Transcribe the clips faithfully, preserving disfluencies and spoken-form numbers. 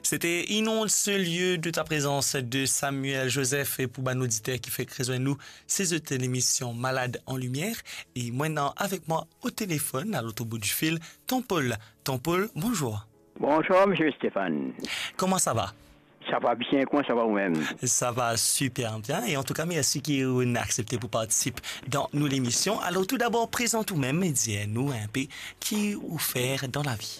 C'était Inonde ce lieu de ta présence de Samuel Joseph. E pou bann oditer ki fek rezwenn nou, se zot lemision Malade en Lumière. E mwa ena avek mwa o telefonn, a lot bout di fil, Ton Paul. Ton Paul, bonzour. Bonzour, misie Stéphane. Koman sa va? Sa va bien, koman sa va ou mem? Sa va super bien. E antouka, mersi ki ou inn aksepte pou partisip dan nou lemision. Alor, toudabor, prezant ou mem e dir nou inpe ki ou fer dan lavi.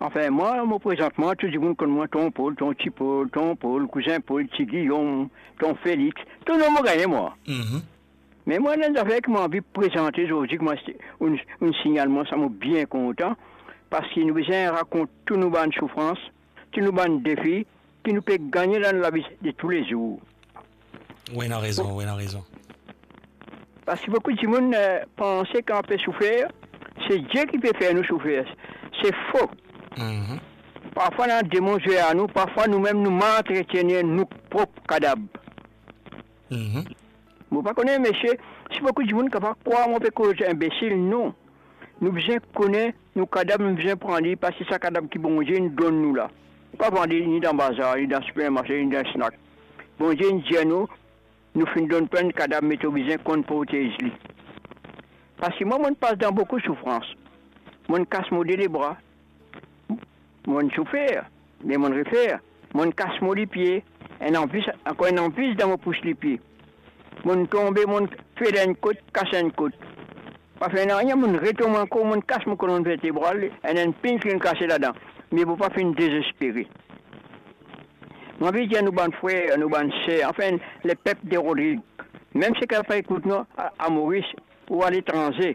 Anfin, mwa, mo prezant mwa, tou dimoun konn mwa, Ton Paul, Ton Ti Paul, Ton Paul, Kouzin Paul, Ti Giyom, Ton Felix, tou nom mo gagne mwa. Mhm. Me mwa, ena enn zafer ki mo anvi prezante zordi, kouma ou, ou signal mwa sa, mo bien kontan, parski nou bizin rakont tou nou bann soufrans, tou nou bann defi ki nou pe gagne dan lavi de toulezour. Wi, ena rezon, wi, ena rezon. Parski boukou dimoun, eh, panse kan pe soufer, se Die ki pe fer nou soufer. Se fo. Mhm. Parfwa, ena demon zwe ar nou, parfwa nou mem nou maltretenir nou prop kadab. Mhm. Mo pa kone, misie, si boukou dimoun kapav krwar mo pe koz inbesil, non. Nou bizin kone nou kadab, nou bizin pran li, parski sa kadab ki Bondie inn donn nou la. Pa vande ni dan bazar, ni dan sipermarse, ni dan snack. Bondie inn dir nou, nou finn donn twa enn kadab, me to bizin konn protez li. Parski mwa, mo'nn pas dan boukou soufrans. Mo'nn kas mo de lebra. Mo'nn soufer, me mo'nn refer. Mo'nn kas mo lipie, enn anvis, ankor enn anvis dan mo pous lipie. Mo'nn tonbe, mo'nn fer enn kot, kas enn kot. Pa fer nanye, mo'nn retonbe ankor, mo'nn kas mo kolonn vertebral, enn, enn pinn finn kase ladan. Me mo pa finn dezespere. Mo anvi dir nou bann frer, nou bann ser, anfin, lepep de Rodrig, mem seki pa ekout nou a, a Moris ou aletranze,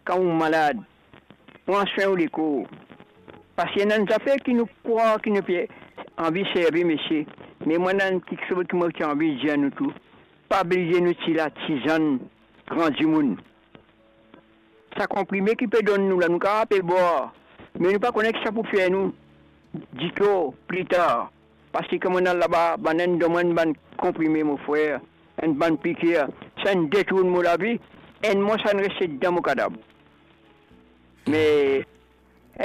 kan ou malad, pran swin ou lekor. Parski ena enn zafer ki nou krwar ki nou pe anvi servi, misie, me mwa ena enn kiksoz ki mo ti anvi dir nou tou. Pa bliye nou ti latizann gran dimoun. Sa konprime ki pe donn nou la, nou kapav pe bwar, me nou pa kone ki sa pou fer nou ditor, plitar. Parski kan mo'nn al laba, bannla inn donn mwa enn bann konprime, mo frer, enn bann pikir, sa inn detourn mo lavi, enn mwa sa inn reste dan mo kadab. Me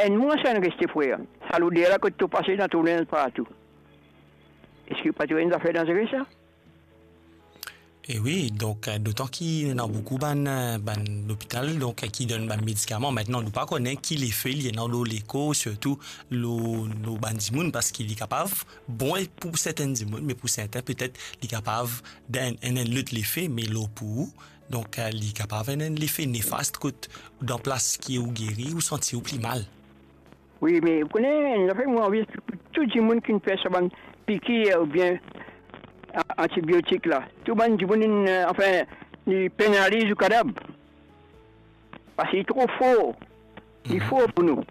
enn mwa sa inn reste, frer. Sa loder la kot to pase, ena to linz partou. Eski pa ti enn zafer danzere sa? E wi, donk, eh, dotan ki ena boukou bann, eh, bann lopital, donk, eh, ki donn bann medikaman. Aster, nou pa kone ki lefe li ena lor lekor, sirtou lor, lor bann dimoun, parski li kapav bon pou sertenn dimoun, me pou serten, petet, li kapav donn enn, enn lot lefe, me lor pou ou, donk, eh, li kapav enn, enn lefe nefast kot, dan plas ki ou geri, ou santi ou pli mal. Wi, me ou kone, enn zafer mo anvi explik pou tou dimoun ki finn fer sa bann pikir oubien a-, antibiotik la. Tou bann dimoun inn, eh, anfin, li penaliz ou kadab. Parski li tro for. Li for pou nou.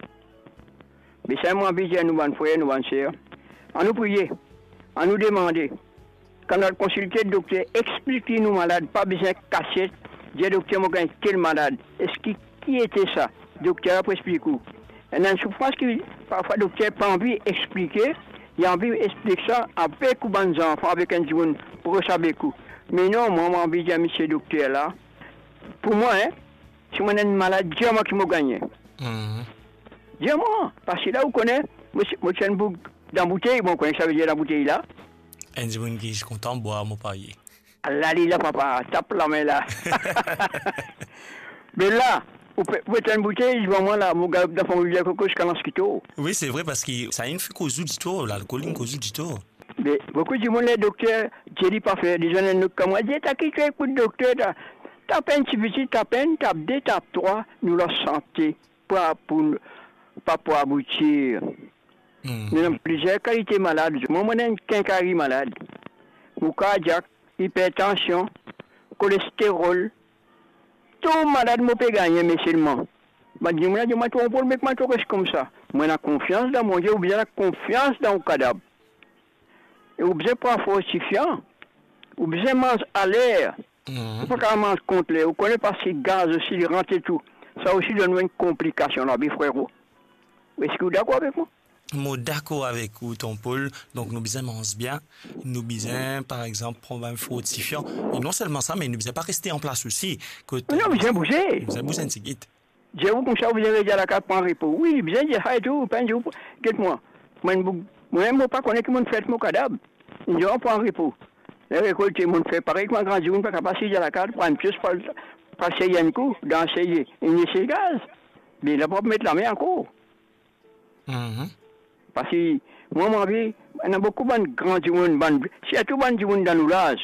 Me sa mo anvi dir nou bann frer, nou bann ser, anou priye, anou demande. Kan nou al konsilte dokter, explik li nou malad, pa bizin kasiet, dir dokter mo gagn tel malad. Eski ki ete sa? Dokter la pou explik ou. Ena enn soufrans ki parfwa dokter pa anvi explike, li anvi explik sa avek ou bann zanfan, avek enn dimoun pros avek ou. Me non, mwa, mo anvi dir misie dokter la, pou mwa, en, si mo ena enn malad, dir mwa ki mo gagne. Mhm. Dir mwa, parski la ou kone, mo ti, mo ti enn boug dan boutey, bon, ou kone ki sa ve dir dan boutey la? Enn dimoun ki kontan bwar, mo parye. Ala li la, papa, tap lame la. Me la, ou pe, ou pe tann boutey, divan mwa la, mo galop dan fon rivier Koko ziska Lanskito. Wi, se vre, parski sa inn fer koz ou ditor, lalkol inn koz ou ditor. Me boukou dimoun, ler dokter dir li pa fer, li zwenn enn lot kamwad, dir, "Ta ki to ekout dokter, ta, tap enn tipiti, tap enn, tap de, tap trwa, nou lasante, pa pou, pa pou aboutir." Hmm. Nou ena plizier kalite malad. Mwa, mo ena enn kinkari malad. Mo kardiak, ipertansion, kolesterol, tou malad mo pe gagne, me selman bann dimoun la dir mwa, "Ton Paul, me kouma to res koumsa?" Mo ena konfians dan Bondie, ou bizin ena konfians dan ou kadab. E ou bizin pran fortifian, ou bizin manz aler. Mhm. Ou pa kapav manz kont ler, ou kone, parski gaz osi, li rant tou. Sa osi donn nou enn konplikasion lavi, frero. Eski ou dakor avek mwa? Mo dakor avek ou, Ton Paul. Donk, nou bizin manz bien. Nou bizin, par exanp, pran bann fortifian. E non selman sa, me nou bizin pa reste anplas osi. Kot, non, bizin bouze. Nou bizin bouze enn tigit. Dir ou koumsa, ou bizin rete lakaz, pran repo. Wi, bizin dir sa etou, pa dir ou, get mwa. Mwa, enn boug Mwa, mo pa kone ki mo'nn fer mo kadab. Enn zour pran repo. Ler rekolte, mo'nn fer parey kouma gran dimoun, pa kapav asiz dan lakaz, pran enn pios, pa, pa sey enn kou, dan sey enn esegaz. Be la, pa met lame ankor. Mhm. Parski mwa, mo anvi, ena boukou bann gran dimoun, bann, sirtou bann dimoun dan nou laz,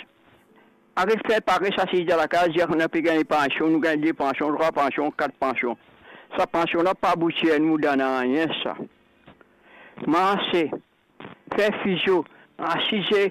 aret fer pares, asiz dan lakaz, dir nou pe gagn pansion, nou gagn de pansion, trwa pansion, kat pansion. Sa pansion la pa aboutir nou dan nanye sa. Marse, fer fizio, asize